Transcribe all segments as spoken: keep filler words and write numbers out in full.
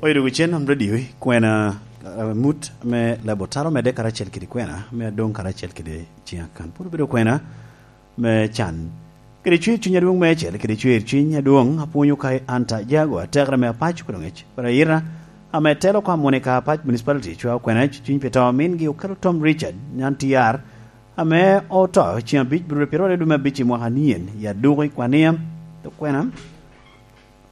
Oyo dwogo cen om radio i kwena, eh, mut me labo taro medde karacel kede kwena me adoŋ karacel kede ciŋ akan. Pwod obedo kwena me can. Kede cwer cuny adwoŋ meicel, kede cwer cuny adwoŋ apwonyo ka i Anta Jago, atekere me Apac Kwero Ŋec, Kwero Ayira, ame telo kwa Monica Apac Municipality, cwa okwena cuny pi to mingi okelo Tom Richard, nyan T R, ame oto ciŋ abic, biro piro aryo dwe me abic i mwaka nien, i Aduku i Kwania, okwena.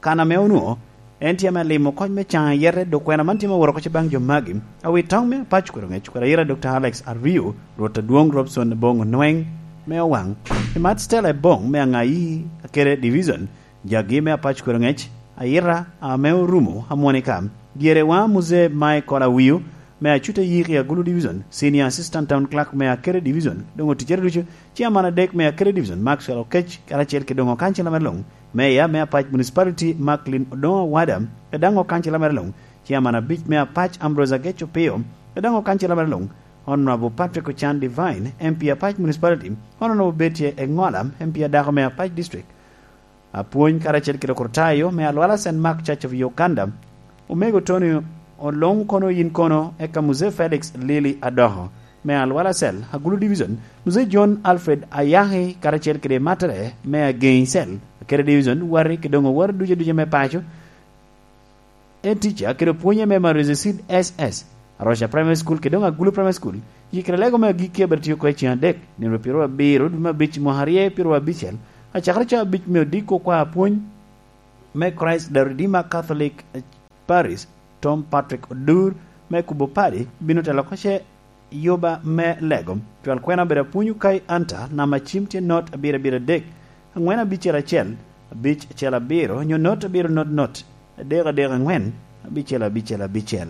Kan ame onwoŋo en tye ame limo kony me caŋ ayete, dok kwena man tye me woro kocce baŋ jo magi. Awi toŋ me Apac Kwero Ŋec, Kwero Ayira Doctor Alex Ario, Rwot Adwoŋ Robson Boŋ Onweng me Owaŋ, i Mat Stella Eboŋ me Aŋayi Akere Division, jagi me Apac Kwero Ŋec, Ayira ame orumo Amonika, dyere wa Muzee Michael Awiu me Acuta Yiki Agulu Division, Senior Assistant Town Clerk me Akere Division, doŋ oticere ducu, Chairman adek me Akere Division, Maxwell Okec, karacel ki doŋ okancila mere luŋ, Mayor me Apac Municipality, Macklin Odoŋo Awada, kede daŋ okancila mere luŋ, Chairman abic me Apac, Ambrose Agec Opio, kede daŋ okancila mere luŋ, Honorable Patrick Ochan Divine, M P Apac Municipality, Honorable Betty Eŋola, M P adako me Apac District, apwony karacel kede okrutayo me Alwala Saint Mark Church of Uganda, Omego Tony Oluŋ kono yin kono, eka Muzee Felix Lili Adoko me Alwala Cell, Agulu Division, Muzee John Alfred Ayaki karacel kede mattere me Ageŋi Cell, Akere Division, wati kede doŋ owati ducu aduca me paco, en tica kede opwonye me Marozi Seed S S, Aroca Primary School kede doŋ Agulu Primary School, yikere lego me agikki abiro tiyo oko i ciŋ adek, nino piro abiro dwe me abic mwaka aryo piro abicel, acakere cawa abic me odiko kwa apwony me Christ the Redeemer Catholic Parish, Tom Patrick Odur, me kubo padi, bino telo kocce yuba me lego. Cwal kwena obedo apwony Ukai Anta, namba cim tye not abiro abiro adek, aŋwen abicel acel, abic acel abiro, nyo not abiro not not, adek adek aŋwen, abicel abicel abicel.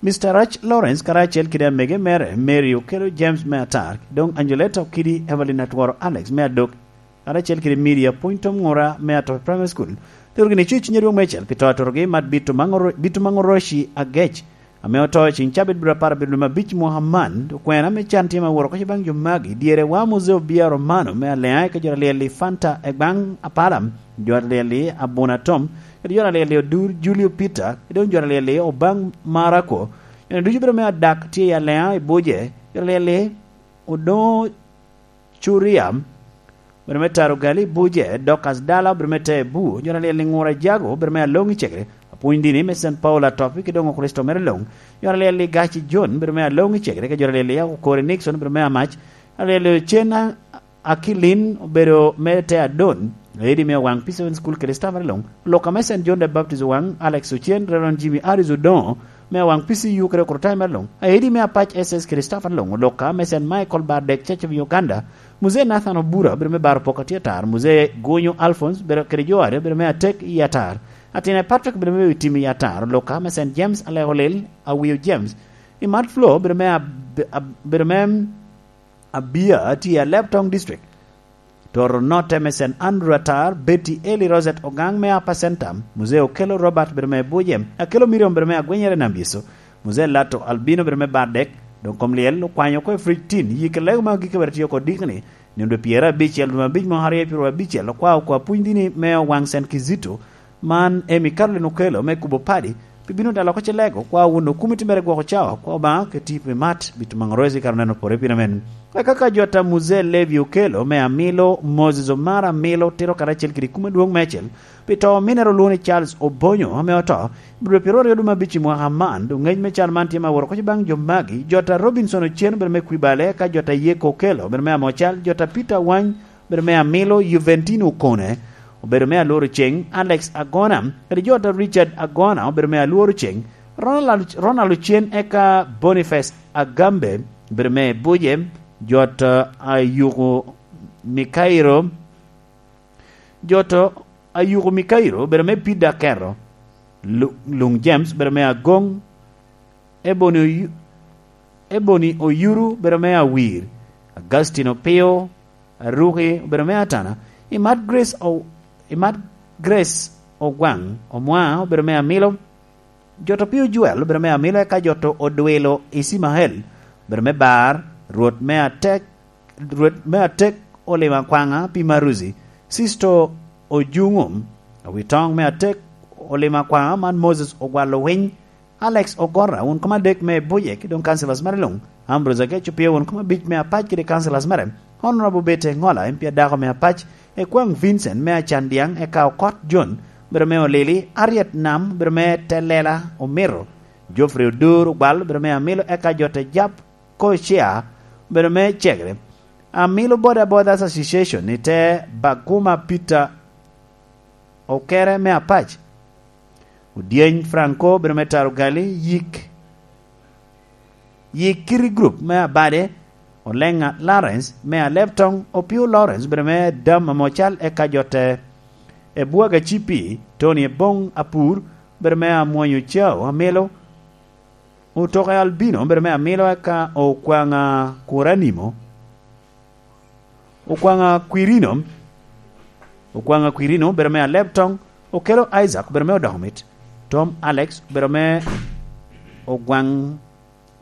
Mister Rach Lawrence karacel kede amege mere, Mary Okello James me Atar, doŋ Angeleta Okidi, Evelyn Atworo Alex me Adok, karacel kede Mary Apwony Tom Ŋura me Atope Primary School, tero gini cuc nyadwong me cel pi to atorogi mat Bitu Maŋoro-, Bitu Maŋoroci Agec, ame oto i ciŋ cabit biro apar abiro dwe me abic mwaka man, okwena me can tye ma woro kocce baŋ jo magi, dyere wa Muzee Obia Romano me Aleŋa, eka jo alyel i Fanta Egbaŋ Apala, jo alyel i Abuna Tom, kede jo alyel i Odur Julio Peter, kede doŋ jo alyel i Obaŋ Marako, jo ducu bedo me Adak tye i Aleŋa i Buje, jo alyel i Odoŋo Curia, obedo me Taro Gali Buje, Dorcas Dala, obedo me Tebu, jo alyel i Ŋura Jago, obedo me Aloŋi Cegere, apwony dini me Saint Paul Atopi, ki doŋ Okricito mere luŋ, jo alyel i Gaci John, obedo me Aloŋi Cegere, ki jo alyel i Okori Nixon, obedo me Amac, alyel i Ocen Akilin, obedo me Te Adon, Lady me Owaŋ P seven School kede staff mere luŋ, Luka me Saint John the Baptist Owaŋ, Alex Ocen, Reverend Jimmy Harris Odoŋo, me Awaŋ P C U kede Okrutayo me Luŋ, Aedi me Apac S S kede staff a Luŋ, Oluka me Saint Michael Bardek Church of Uganda, Muzee Nathan Obura, obedo me Baro Pok Atye Atar, Muzee Gunyo Alphonse, obedo kede jo aryo, obedo me Atek i Atar, Atine Patrick, obedo me Tim i Atar, Oluka me Saint James Aleko Lil, Awio James, i Mat Flo, obedo me Ab-, Ab-, obedo me Abia, tye i Aleb Town District. Toro Note me Saint Andrew Atar, Betty Eli Rosette Ogang me Upper Centum, Muzee Okello Robert bedo me Buje, Akello Miriam bedo me Agwenyere Nam Yecu, Muzee Lato Albino bedo me Bardek, doŋ kom lyel okwanyo oko i fridge tin, yik lego ma agikki bedo tye oko dikni, nino dwe pyerabicel dwe me abic mwaka aryo pyeraryo abicel, okwao oko apwony dini me Owaŋ Saint Kizito, Man emi Caroline Okello me kubo padi, pi bino dalo oko cilego, kwa wun okumiti mere gwoko cawa, kwa Obaŋa oketi pi mat, bito maŋo roci kara oneno pore pire men. Eka ka jot a Muzee Levi Okello me Amilo, Moses Omar Amilo, tiro karacel kede kum adwoŋ meicel, pi to minere olwoŋo ni Charles Obonyo ame oto, biro piro aryo dwe me abic i mwaka man, doŋ ngec me cal man tye ma woro koc baŋ jo magi, jot a Robinson Ochen obedo me Kwibale, eka jot a Yeko Okello obedo me Amocal, jot a Peter Wany, obedo me Amilo, Juventino Okone, obedo me Alworo Ceng, Alex Agona, kede jot a Richard Agona, obedo me Alworo Ceng, Ronald, Ronald Ocen, eka Boniface Agambe, obedo me Buje, jot a Ayuko Mikairo, jot a Ayuko Mikairo, obedo me Pida Kero, Lu-, Luŋ James, obedo me Agong, Ebony Oyu-, Ebony Oyuru, obedo me Awir, Augustine Opio, Aruki, obedo me Atana, Imat Grace O-, Imat Grace Ogwaŋ, Omwa, obedo me Amilo, Joto Pio Joel, obedo me Amilo, eka Joto Odwilo Isimael, obedo me Bar, Rwot me Atek, Rwot me Atek Olima Kwaŋa pi Maruzi, Sisto Ojuŋum, Awitoŋ me Atek, Olima Kwaŋ, man Moses Ogwalo Winy, Alex Ogorra, wun kom adek me Buje, ki doŋ councillors mere luŋ, Ambrose Agec Opio, wun kom abic me Apac kede councillors mere, Honorable Bete Ŋola, M P adako me Apac, Ekwaŋ Vincent me Acandiaŋ, eka Okot John, bedo me Olili, Ariet Nam, bedo me Telela Omiro, Geoffrey Odur Ogwal, bedo me Amilo, eka Jote Jap Kocia, bedo me Cegere, Amilo Boda Bodas Association, ite Baguma Peter Okere me Apac, Odyeny Franco, bedo me Taro Gali, Yik, Yik Kiri Group me Abade, Olenga Lawrence me Aleptong, Opio Lawrence, bedo me Dam Amocal, eka Jote Ebwaga Cipi, Tony Ebong Apur, bedo me Amwonyo Cao Amilo, Otoke Albino, bedo me Amilo, eka Okwaŋa Kuranimo, Okwaŋa Kwirino, Okwaŋa Kwirino, bedo me Aleptong, Okelo Isaac, bedo me Odoko Mit, Tom Alex, bedo me Ogwaŋ,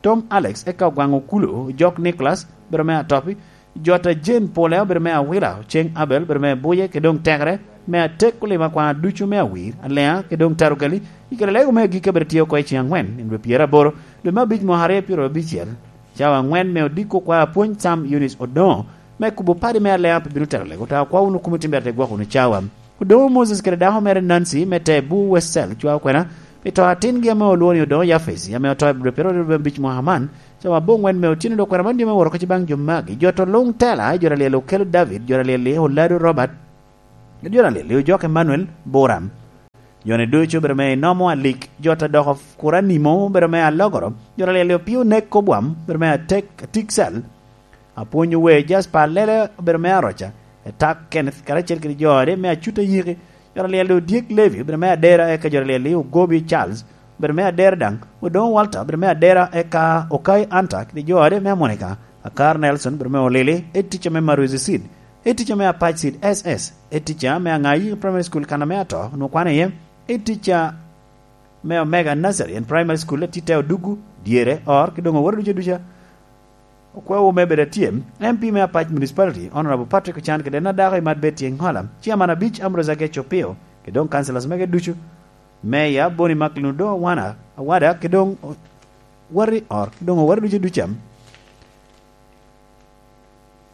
Tom Alex, eka Ogwaŋ Okulo, Jok Nicholas, bedo me Atopi, Jota Jane Pole, bedo me Awila, Oceng Abel, bedo me Buje, ke doŋ Tekere, me Atek, Olima Kwaŋ ducu me Awir, Aleŋa, ke doŋ Tarugali, i kare lego me agikki bedo tye oko i ceŋ aŋwen, i dwe pyeraboro, dwe me abic mwaka aryo pyeraryo abicel. Cawa aŋwen me odiko kwa apwony Sam Eunice Odoŋo, me kubo padi me Aleŋa pe bino tero lego, ta okwa wunu kumo timbere te gwoko wunu cawa. Odoŋo Moses kede dako mere Nancy me te Bur West Cell, cwa okwena, pi to atingi ame olwongo ni Odoŋo Yafesi, ame oto i dwe pyeraryo abic mwaka man, cawa aboŋwen me otyeno dok kwena man dyome woro kec baŋ jo magi, jo to luŋ tela, jo alyel Okelo David, jo alyel Olado Robert, jo alyel Ojok Emmanuel Buram. Joni ducu bedo me Inomo Alik, jo ta doko Kuranimo bedo me Alogoro, jo alyel Opio Nek Kobwam bedo me Atek, Atik Cell, Apwony Owe Jasper Lele obedo me Aroca, Etak Kenneth karacel kede jo ode me Acuta Yiki, jo alyel Odyek Levi obedo me Adera, eka jo alyel Ogobi Charles obedo me Adera daŋ, Odoŋo Walter obedo me Adera, eka Okai Anta kede jo ode me Amonika, Akar Nelson obedo me Olili, Editica me Maruzi Seed, Editica me Apac Seed S S, Editica me Aŋayi Primary School kan ame ato onwoŋo kwano iye, Editica me Omega Nursery and Primary School, Atite Odugu, dyere, or, ki doŋ oworo duca duca. Okwewu me bedo atye, M P me Apac Municipality, Honorable Patrick Ochan kede en adako i Mat Betty Eŋola, Chairman abic Ambrose Agec Opio, kede doŋ councillors mege ducu, Mayor Boni Macklin Odo Awana, Awada, kede doŋ o-, wari or, kede doŋ owari ducu duca.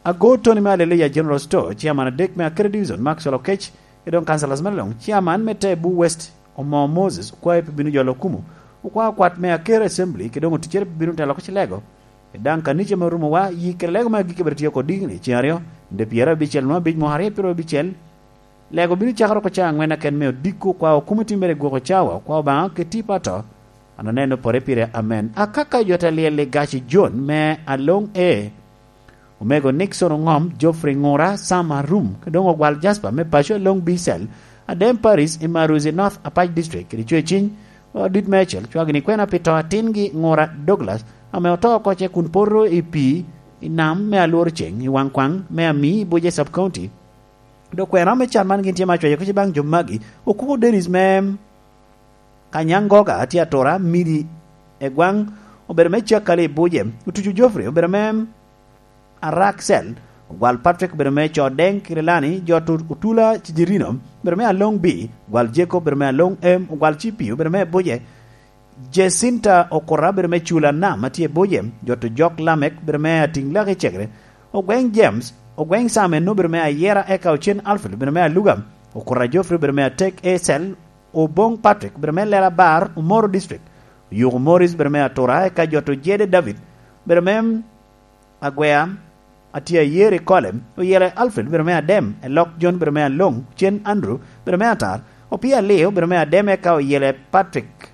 Ago Tony me Aleluya General Store, Chairman adek me Akere Division, Maxwell Okech, kede doŋ councillors mere luŋ, Chairman me te Bur West, Omo Moses, okwae pe bino jolo okumu, okwao kwat me Akere Assembly, kede doŋ oticere pe bino telo oko cilego. Kede daŋ kanica me orumo wa, yi kede lego me agikki bene tye oko dikni, ceŋ aryo, nde pyerabicel nwa abic mwaka aryo pyerabicel, lego bino cakere oko cawa aŋwen aken me odiko, kwa okumo timmere i gwoko cawa, kwa Obaŋa keti pato, an aneno pore pire, amen. Akaka jo te lyel i gaci Jon me Aloŋ E, Omego Nixon Oŋom, Geoffrey Ŋura, Sam Arum, kede doŋ Ogwal Jasper me paco Aloŋ B Cell, Adem Paris i Maruzi North Apac District, kede Cweciny, Odit Mecel, cwagini kwena pi to atingi Ŋura Douglas, ame oto oko ce kun poto i pii i nam me alworo ceŋ i Waŋkwaŋ me Ami i Buje Sub County. Dok kwena me can man gin tye ma acwayo kec baŋ jo magi, Okuku Dennis me Kanyangoga tye atura, Midi Egwaŋ obedo me Cakali i Buje, Otucu Geoffrey obedo me Araksel, Ogwal Patrick obedo me Codeng Kirilani, Jot Otula Cijirino obedo me Aloŋ B, Ogwal Jacob obedo me Aloŋ M, Ogwal Cipi obedo me Buje, Jacinta Okura obedo me Cula Nam atye i Buje, Jot Ojok Lamek obedo me Atiŋ Laki Cegere, Ogweŋ James, Ogweŋ Sam en obedo me Ayera, eka Ocen Alfred obedo me Aluga, Okura Geoffrey obedo me Atek Esel, Oboŋ Patrick obedo me Lela Bar, Omoro District, Oyuku Morris obedo me Atura, eka Jot Ojede David obedo me Agwea, atye Ayeri Kole, Oyele Alfred obedo me Adem, Elok John obedo me Aloŋ, Ocen Andrew obedo me Atar, Opia Leo obedo me Adem, eka Oyele Patrick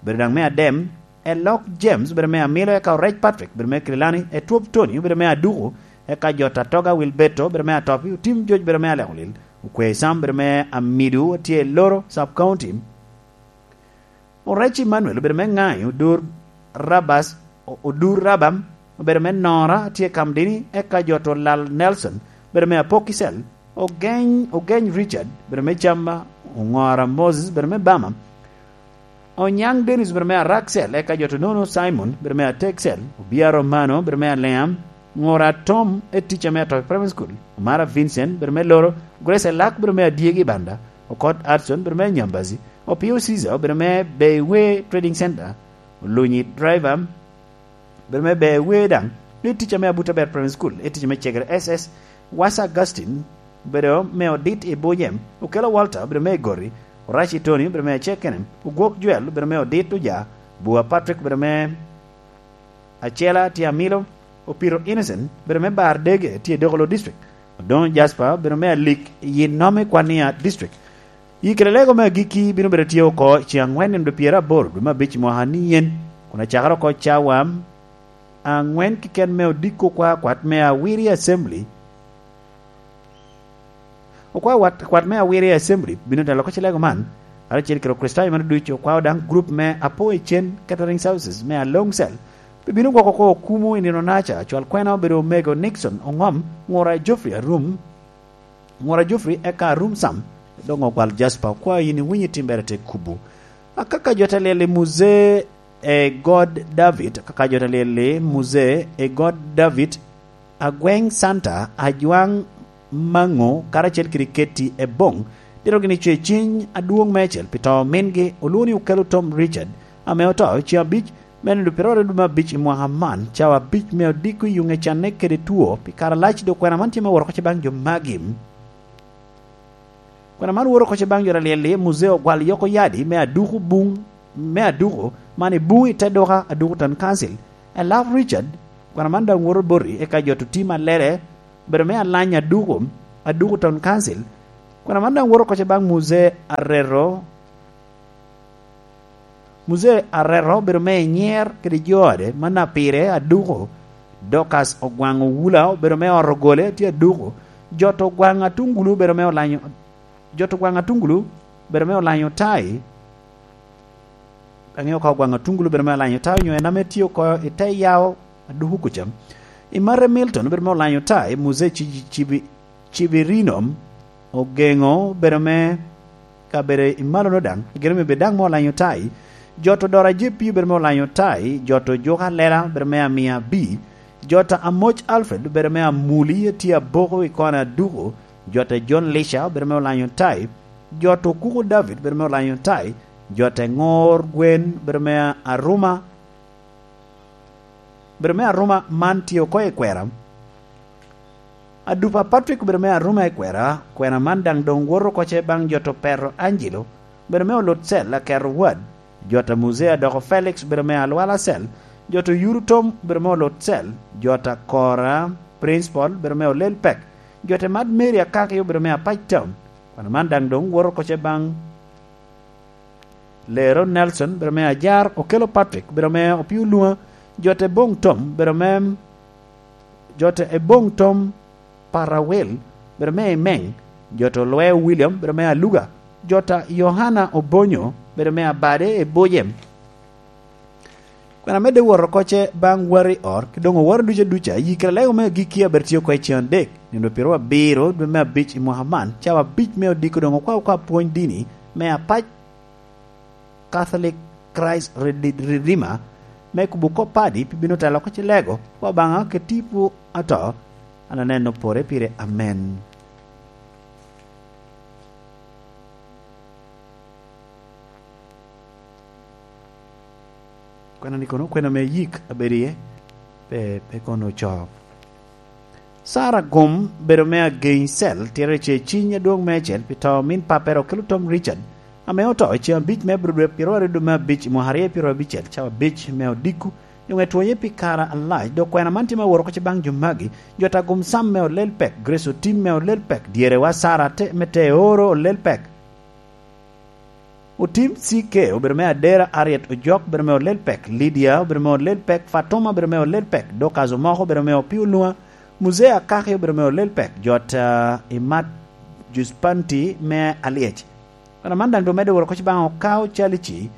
obedo daŋ me Adem, Elok James obedo me Amilo, eka Orec Patrick obedo me Kirilani, Etwop Tony obedo me Aduku, eka Jot Atoga Wilberto obedo me Atopi, Otim Joc obedo me Alekolil, Okwei Sam obedo me Amidu, atye i Loro Sub County. Orec Emmanuel obedo me Ŋayi, Odur Rabas, Odur Rabam obedo me Nora, atye i Kamdini, eka Jot Olal Nelson obedo me Apokicel, Ogeny, Ogeny Richard obedo me Camma, Oŋora Moses obedo me Bama, Onyaŋ Dennis obedo me Araksel, eka Jot Onono Simon obedo me Ateksel, Obia Romano obedo me Aleam, Ŋora Tom Etica me Atoki Primary School, Omara Vincent obedo me Loro, Grace Elak obedo me Adyegi Banda, Okot Adson, bedo me Nyambazi. Opio Caesar, bedo me Beiwe Trading Center. Olunyi Driver, bedo me Beiwe daŋ. Ni ticca me Abuta Ber Primary School, i ticca me Cegere S S. Wasa Augustine, bedo me Odit i Bujem. Okelo Walter, bedo me Igori. Oraci Tony, bedo me Acekenem. Ogwok Joel, bedo me Odit Oja. Bua Patrick, bedo me Acela tye Amilo. Opiro Innocent, bedo me Bar Dege, tye Dokolo District. Odoŋo Jasper, bedo me Alik i Nome Kwania District. Yi kede lego me agikki bino bedo tye oko i ceŋ aŋwen nino pyeraboro dwe me abic i mwaka ni yen, kun acakere oko cawa aŋwen keken me odiko kwa kwat me Awiri Assembly. Okwa wat, kwat me Awiri Assembly bino telo oko cilego man, karacel kede Okricitayo mano ducu, okwao daŋ grup me Apo Ecen Catering Services me Along Cell, bibino gwoko oko okumo i nino naca. Cwal kwena obedo Omego Nixon Ongom, ngura Geoffrey Arum, ngura Geoffrey eka Arum Sam, doŋ ogwal Jasper. Okwa yin iwinyo timbere te kubo. Akaka jo te lyel i Muzee e God David, akaka jo te lyel i Muzee e God David, Agweng Santa, Ajwaŋ Maŋo, karacel kede Ketti Eboŋ, tito gini cwe ciny adwoŋ meicel pi to mingi, olwoŋo ni Okelo Tom Richard, ame oto i ceŋ abic me nino pyeraryo dwe me abic i mwaka man, cawa abic me odiko i yuŋe canne kede two pi kare alac. Dok kwena man tye me woro oko ce baŋ jo magi. Kwena man woro oko ce baŋ jo alyel-li, Muzee Ogwal Yoko Yadi me Aduku Buŋ, me Aduku, man i Buŋ i te duka Aduku Town Council. Elaf Richard, kwena man daŋ woto boti, eka jo to tim alele, bedo me alany Aduku, Aduku Town Council. Kwena man daŋ woto oko ce baŋ Muzee Arero, Muzee Arero obedo me inyer kede jo ode, man a pire Aduku. Dorcas Ogwaŋ Owula obedo me ot ogole, tye Aduku. Jot Ogwaŋ Atungulu obedo me olanyo, Jot Ogwaŋ Atungulu obedo me olanyo tai. Aŋeo ka Ogwaŋ Atungulu obedo me olanyo tai, onyo en ame tye oko i te yawo Aduku kuca. Imate Milton obedo me olanyo tai, Muzee Ci-, Cibi-, Cibirino Ogeŋo obedo me kabedo i malono daŋ, gire me bedo daŋ me olanyo tai. Jot Odora J P obedo me olanyo tai, jot Ojuka Lela obedo me amia B, jot Amoc Alfred obedo me amuli, tye Aboko i kona Aduku, jot John Lisha obedo me olanyo tai, jot Okuku David obedo me olanyo tai, jot Ŋor Gwen obedo me Aruma, bedo me Aruma man tye oko i kwera. Adupa Patrick obedo me Aruma i kwera, kwena man daŋ doŋ woto oko ce baŋ jot Opero Angelo, bedo me Olut Cel, Aketo Wad, jot a Muzee Adoko Felix, bedo me Alwala Cel, jot Oyuru Tom, bedo me Olut Cel, jot Akora Principal, bedo me Olel Pek, jot Emat Mary Akaki, obedo me Apac Town. Kwena man daŋ doŋ woto oko ce baŋ Lero Nelson, bedo me Ajar, Okelo Patrick, bedo me Opio Luma, jot Eboŋ Tom, bedo me, jot Eboŋ Tom Parawel, bedo me Imeng, jot Olweo William, bedo me Aluga, jot Yohana Obonyo, bedo me Abade i Bujem. Kwena medde wot oko ce baŋ wari ot, ki doŋ oworo duca duca, yi kede lego me agikki a bedo tye oko i ceŋ adek, nino pyeraryo abiro dwe me abic i mwaka man, cawa abic me odiko doŋ okwa oko apwony dini me Apac Catholic Christ Rede-, Redeemer, me kubo kop padi pi bino telo oko cilego, wa baŋa kede tipo ato, an aneno pore pire. Amen. Kwena ni kono, kwena me yik abedo iye, pe, pe kono ocoo. Sara Gum bedo me Ageny Cel, tito ce ciny adwoŋ meicel pi to min pappere Okelo Tom Richard, ame oto i ceŋ abic me Abril dwe pyeraryo aryo dwe me abic i mwaka aryo pyeraryo abicel, cawa abic me odiko, doŋ etwonye pi kare alac. Dok kwena man tye me woro oko ce baŋ jo magi, jot Agum Sam me Olel Pek, Grace Otim me Olel Pek, dyerewa Sara te, me Teoro Olel Pek. Otim C K obedo me Adera, Harriet Ojok obedo me Olel Pek, Lydia obedo me Olel Pek, Fatuma obedo me Olel Pek, Dorcas Omoko obedo me Opio Luma, Muzee Akaki obedo me Olel Pek, jot, ah, Imat Juspanti me Alyec. Kwena man daŋ doŋ medde woro oko ce baŋ Okao Calici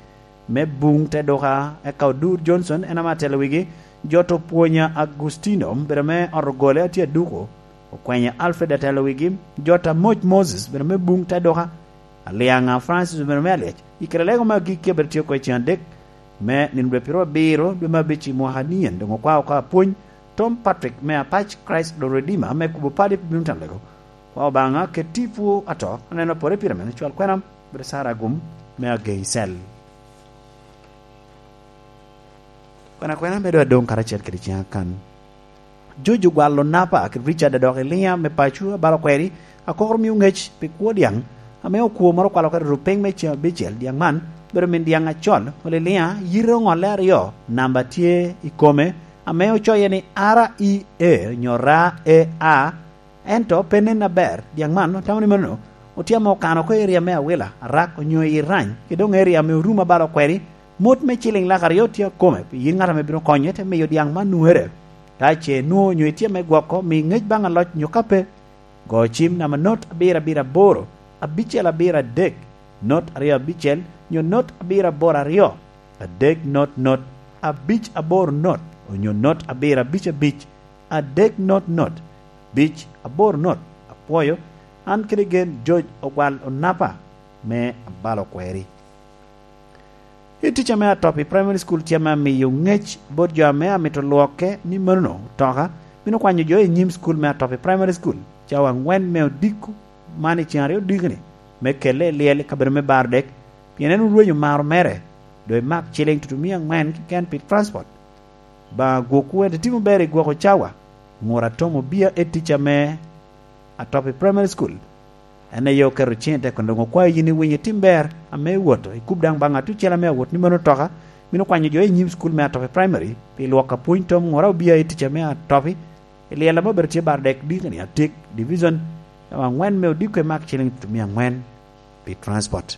me Buŋ te Duka, eka Odur Johnson en ame atelo wigi, jot Opwonya Agustino obedo me ot ogole atye Aduku, Okwenya Alfred atelo wigi, jot Amoc Moses obedo me Buŋ te Duka, Aliaŋa Francis obedo me Alyec. I kare lego me agikki abedo tye oko i ceŋ adek me nino dwe pyeraryo abiro dwe me abic i mwaka ni en, doŋ okwa oko apwony Tom Patrick me Apac Christ the Redeemer me kubo padi pi bino telo lego. Kwa Obaŋa, ket tipo ato, aneno pore pire mene, cwal kwena, bedo Sara Agum, me Agei Cel. Kwena kwena medo adoŋ karacel kede ciŋa kan. Jojo gwalo napa kede Richard adok Elia me paco abalo kweri, akokoro mio ŋec pi kwo diaŋ, ame okwo moro okwalo kede rupiny me ciŋ abicel diaŋ man, bedo min diaŋ acol, ol Elia, yite oŋolle aryo, namba tye i kome, ame ocoye ni R E A nyo R E A, ento pe nen aber. Diaŋ man otamo ni mano otye ame okano oko i eria me Awila, Arak onyo i Rany, ki doŋ eria ame orumo abalo kweri. Mot me ciliŋ lak aryo tye akome pi yin ŋat ame bino konye te miyo diaŋ man nuŋere. Ka ce nwoŋo onyo itye me gwoko, mi ŋec baŋ aloc nyo ka pe, go cim namba not abiro abiro aboro, abicel abiro adek, not aryo abicel, nyo not abiro aboro aryo, adek not not, abic aboro not, onyo not abiro abic abic, adek not not, abic aboro not. Apwoyo, an kede gen George Ogwal Onapa me abalo kweri. I ticca me Atopi Primary School tye ame amiyo ŋec bot jo ame amito lwokke ni manono otoka bino kwanyo jo i nyim school me Atopi Primary School cawa aŋwen me odiko man i ceng aryo odiko-ni, me kelle i lyel i kabedo me Bardek, pien en orwenyo maro mere, doŋ imak ciliŋ tutumia aŋwen keken pi transport. Obaŋa gwokwu ento itimo ber i gwoko cawa. Ŋur atom obia e ticca me Atopi Primary School. En aye oketo ciŋ i teko, doŋ okwayo yin iwiny itim ber ame iwoto, ikub daŋ baŋ atucel ame awot ni mano otoka bino kwanyo jo i nyim school me Atopi Primary pi lwok apwony tom ŋur obia i ticca me Atopi. I lyel ame obedo tye Bardek dikini atik, division cawa aŋwen me odiko imak ciliŋ tutumia aŋwen pi transport.